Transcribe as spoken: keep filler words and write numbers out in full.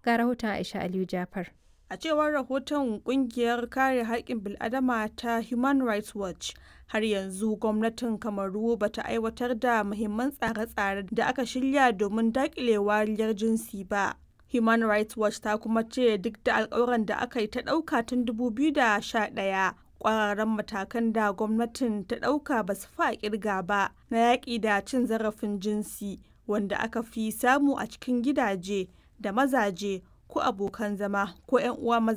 Ga rahoton Aisha Aliyu Jafar. A cewar rahoton Ƙungiyar Kare Haƙƙin Bil'adama ta Human Rights Watch, har yanzu gwamnatin Kamaru ba ta aiwatar da muhimman tsare-tsare da aka shirya domin daƙile wariyar jinsi ba. Human Rights Watch ta kuma ce duk da alkawuran da aka yi ta ɗauka tun dubu biyu da sha ɗaya, kwararan matakan da gwamnatin ta ɗauka ba su fi a kirga ba na yaƙi da cin zarafin jinsi, wanda aka fi samu a cikin gidaje da mazaje ko abokan zama ko 'yan uwa maza.